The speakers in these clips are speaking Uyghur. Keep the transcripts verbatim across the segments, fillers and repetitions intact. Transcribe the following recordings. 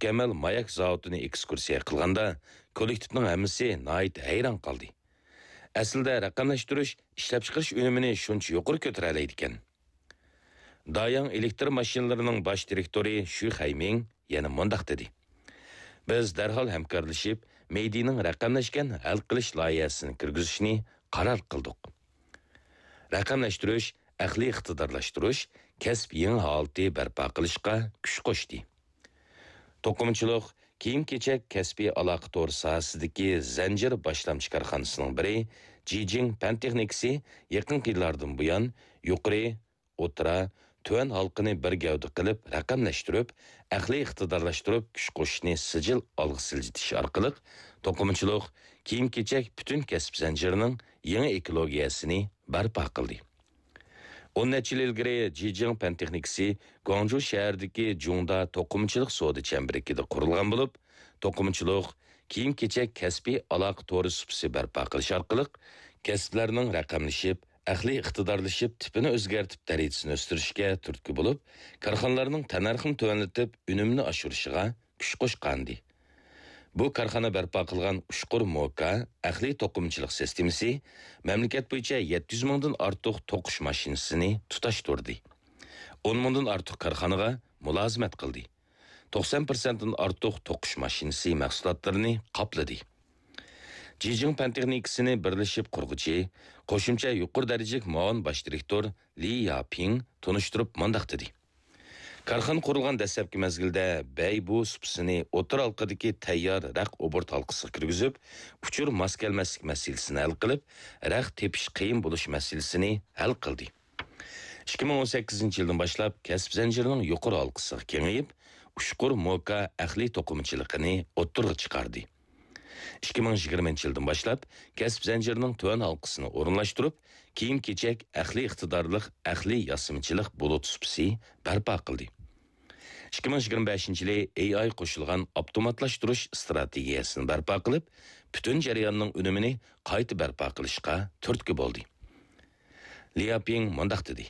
مۇكەممەل ماياك زاۋۇتىنى ئېكسكۇرسىيە قىلغاندا، كوللېكتىپنىڭ ھەممىسى ناھايىتى ھەيران قالدى. ئەسلىدە رەقەملەشتۈرۈش ئىشلەپچىقىرىش ئۈنۈمىنى شۇنچە يۇقىرى كۆتۈرەلەيدىكەن. داياڭ ئېلېكتر ماشىنىلىرىنىڭ باش دىرېكتورى شۈ خەيمىڭ يەنە مۇنداق دېدى: بىز دەرھال ھەمكارلىشىپ، مېيدىنىڭ رەقەملەشكەن ھەل قىلىش لايىھەسىنى كىرگۈزۈشنى قارار قىلدۇق. رەقەملەشتۈرۈش، ئەقلىي ئىقتىدارلاشتۇرۇش كەسىپ يېڭى ھالىتى بەرپا قىلىشقا كۈچ قوشتى. توقۇمىچىلىق، كىيىم-كېچەك كەسپىي ئالاقە تورى ساھەسىدىكى زەنجىر باشلامچى كارخانىسىنىڭ بىرى جىجىڭ پەن تېخنىكىسى يېقىنقى يىللاردىن بۇيان يۇقىرى، ئوتتۇرا، تۆۋەن ھالقىنى بىر گەۋدە قىلىپ رەقەملەشتۈرۈپ، ئەقلىي ئىقتىدارلاشتۇرۇپ كۈچ قوشۇشنى سىجىل ئالغا سىلجىتىش ئارقىلىق، توقۇمىچىلىق، كىيىم-كېچەك پۈتۈن كەسىپ زەنجىرىنىڭ يېڭى ئېكولوگىيەسىنى بەرپا قىلدى. ئون نەچچە يىل ئىلگىرى جىجىڭ پەن تېخنىكىسى گۇاڭجۇ شەھىرىدىكى جۇڭدا توقۇمىچىلىق سودا چەمبىرىكىدە قۇرۇلغان بولۇپ، توقۇمىچىلىق، كىيىم-كېچەك كەسپىي ئالاقە تورى سۇپىسى بەرپا قىلىش ئارقىلىق، كەسىپلەرنىڭ رەقەملىشىپ، ئەقلىي ئىقتىدارلىشىپ، تىپىنى ئۆزگەرتىپ، دەرىجىسىنى ئۆستۈرۈشكە تۈرتكە بولۇپ، كارخانىلارنىڭ تەننەرخىنى تۆۋەنلىتىپ، ئۈنۈمنى ئاشۇرۇشىغا كۈچ قوشقانىدى. بۇ كارخانا بەرپا قىلغان ئۇچقۇر موكا ئەقلىي توقۇمىچىلىق سىستېمىسى مەملىكەت بويىچە يەتتە يۈز مىڭدىن ئارتۇق توقۇش ماشىنىسىنى تۇتاشتۇردى. ئون مىڭدىن ئارتۇق كارخانىغا مۇلازىمەت قىلدى. توقسان پىرسەنتتىن ئارتۇق توقۇش ماشىنىسى مەھسۇلاتلىرىنى قاپلىدى. جىجىڭ پەن تېخنىكىسىنى بىرلىشىپ قۇرغۇچى، قوشۇمچە يۇقىرى دەرىجىلىك مۇئاۋىن باش دىرېكتور لى ياپىڭ تونۇشتۇرۇپ مۇنداق دېدى: كارخانا قۇرۇلغان دەسلەپكى مەزگىلدە بەيبۇ سۇپىسىنى ئوتتۇرا ھالقىدىكى تەييار رەق ئوبوروت ھالقىسىغا كىرگۈزۈپ، ئۇچۇر ماس كەلمەسلىك مەسىلىسىنى ھەل قىلىپ، رەق تېپىش قىيىن بولۇش مەسىلىسىنى ھەل قىلدى. ئىككى مىڭ ئون سەككىزىنچى يىلدىن باشلاپ كەسىپ زەنجىرىنىڭ يۇقىرى ھالقىسىغا كېڭىيىپ، ئۇچقۇر موكا ئەقلىي توقۇمىچىلىقىنى ئوتتۇرىغا چىقاردى. ئىككى مىڭ يىگىرمىنچى يىلدىن باشلاپ كەسىپ زەنجىرىنىڭ تۆۋەن ھالقىسىنى ئورۇنلاشتۇرۇپ، كىيىم-كېچەك ئەقلىي ئىقتىدارلىق ئەقلىي ياسىمىچىلىق بۇلۇت سۇپىسى بەرپا قىلدى. ئىككى مىڭ يىگىرمە بەشىنچى يىلى ئېي ئاي قوشۇلغان ئاپتوماتلاشتۇرۇش ئىستراتېگىيەسىنى بەرپا قىلىپ، پۈتۈن جەرياننىڭ ئۈنۈمىنى قايتا بەرپا قىلىشقا تۈرتكە بولدى. لياپىڭ مۇنداق دېدى: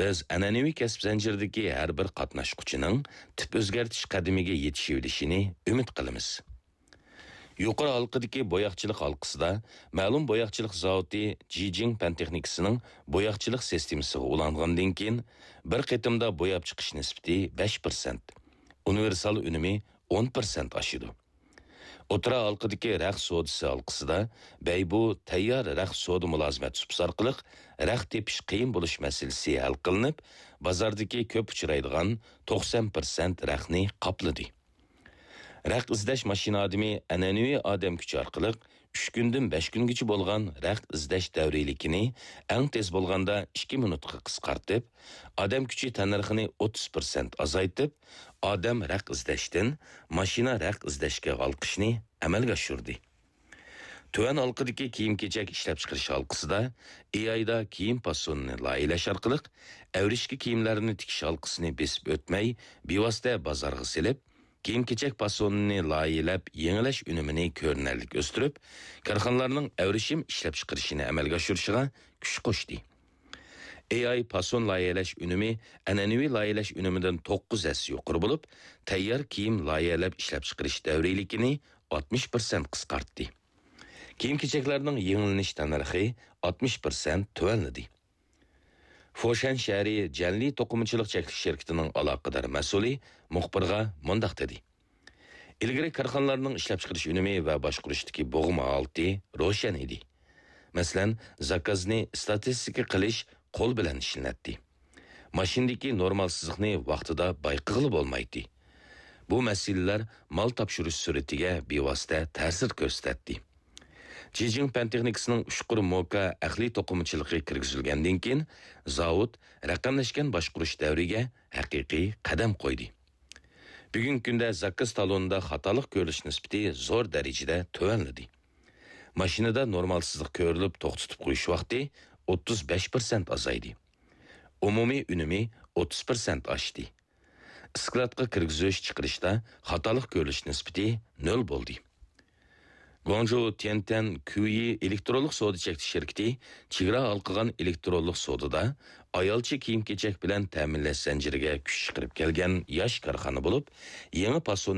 بىز ئەنئەنىۋى كەسىپ زەنجىرىدىكى ھەر بىر قاتناشقۇچىنىڭ تىپ ئۆزگەرتىش قەدىمىگە يېتىشىۋېلىشىنى ئۈمىد قىلىمىز. يۇقىرى ھالقىدىكى بوياقچىلىق ھالقىسىدا مەلۇم بوياقچىلىق زاۋۇتى جىجىڭ پەن تېخنىكىسىنىڭ بوياقچىلىق سىستېمىسىغا ئۇلاندىن كېيىن، بىر قېتىمدا بوياپ چىقىش نىسبىتى بەش پىرسەنت، ئۇنىۋېرسال ئۈنۈمى ئون پىرسەنت ئاشىدۇ. ئوتتۇرا ھالقىدىكى رەخت سودىسى ھالقىسىدا بەيبۇ تەييار رەخت سودا مۇلازىمەت سۇپىسى ئارقىلىق رەخت تېپىش قىيىن بولۇش مەسىلىسى ھەل قىلىنىپ، بازاردىكى كۆپ ئۇچرايدىغان توقسان پىرسەنت رەختنى قاپلىدى. رەخت ئىزدەش ماشىنا ئادىمى ئەنئەنىۋى ئادەم كۈچى ئارقىلىق ئۈچ كۈندىن بەش كۈنگىچە بولغان رەخت ئىزدەش دەۋرىيلىكىنى ئەڭ تېز بولغاندا ئىككى مىنۇتقا قىسقارتىپ، ئادەم كۈچى تەننەرخىنى ئوتتۇز پىرسەنت ئازايتىپ، ئادەم رەخت ئىزدەشتىن ماشىنا رەخت ئىزدەشكە ھالقىشنى ئەمەلگە ئاشۇردى. تۆۋەن ھالقىدىكى كىيىم-كېچەك ئىشلەپچىقىرىش ھالقىسىدا ئېي ئايدا كىيىم پاسونىنى لايىھەلەش ئارقىلىق ئەۋرىشكە كىيىملەرنى تىكىش ھالقىسىنى بېسىپ ئۆتمەي، بىۋاسىتە بازارغا سېلىپ، كىيىم-كېچەك پاسونىنى لايىھەلەپ يېڭىلاش ئۈنۈمىنى كۆرۈنەرلىك ئۆستۈرۈپ، كارخانىلارنىڭ ئەۋرىشىم ئىشلەپچىقىرىشىنى ئەمەلگە ئاشۇرۇشىغا كۈچ قوشتى. ئېي ئاي پاسون لايىھەلەش ئۈنۈمى ئەنئەنىۋى لايىھەلەش ئۈنۈمىدىن توققۇز ھەسسە يۇقىرى بولۇپ، تەييار كىيىم لايىھەلەپ ئىشلەپچىقىرىش دەۋرىيلىكىنى ئاتمىش پىرسەنت قىسقارتتى. كىيىم-كېچەكلەرنىڭ يېڭىلىنىش تەننەرخى ئاتمىش پىرسەنت تۆۋەنلىدى. فوشەن شەھىرى جەنلى توقۇمىچىلىق چەكلىك شىركىتىنىڭ ئالاقىدار مەسئۇلى مۇخبىرغا مۇنداق دېدى: ئىلگىرى كارخانىلارنىڭ ئىشلەپچىقىرىش ئۈنۈمى ۋە باشقۇرۇشتىكى بوغما ھالىتى روشەن ئىدى. مەسىلەن، زاكازنى ئىستاتىستىكا قىلىش قول بىلەن ئىشلىنەتتى. ماشىنىدىكى نورمال سىزىقنى ۋاقتىدا بايقىغىلى بولمايتتى. بۇ مەسىلىلەر مال تاپشۇرۇش سۈرئىتىگە بىۋاسىتە تەسىر كۆرسىتەتتى. جىجىڭ پەن تېخنىكىسىنىڭ ئۇچقۇر موكا ئەقلىي توقۇمىچىلىقى كىرگۈزۈلگەندىن كېيىن، زاۋۇت رەقەملەشكەن باشقۇرۇش دەۋرىگە ھەقىقىي قەدەم قويدى. بۈگۈنكى كۈندە زاكاز تالونىدا خاتالىق كۆرۈلۈش نىسبىتى زور دەرىجىدە تۆۋەنلىدى. ماشىنىدا نورمال سىزىق كۆرۈلۈپ توختىتىپ قويۇش ۋاقتى ئوتتۇز بەش پىرسەنت ئازايدى. ئومۇمىي ئۈنۈمى ئوتتۇز پىرسەنت ئاشتى. ئىسكىلاتقا كىرگۈزۈش چىقىرىشتا خاتالىق كۆرۈلۈش نىسبىتى نۆل بولدى. گۇاڭجۇ تيەنتەن كۈيى ئېلېكترونلۇق سودا چەكلىك شىركىتى چېگرا ھالقىغان ئېلېكترونلۇق سودىدا ئايالچە كىيىم-كېچەك بىلەن تەمىنلەش زەنجىرىگە كۈچ چىقىرىپ كەلگەن ياش كارخانا بولۇپ، يېڭى پاسوننى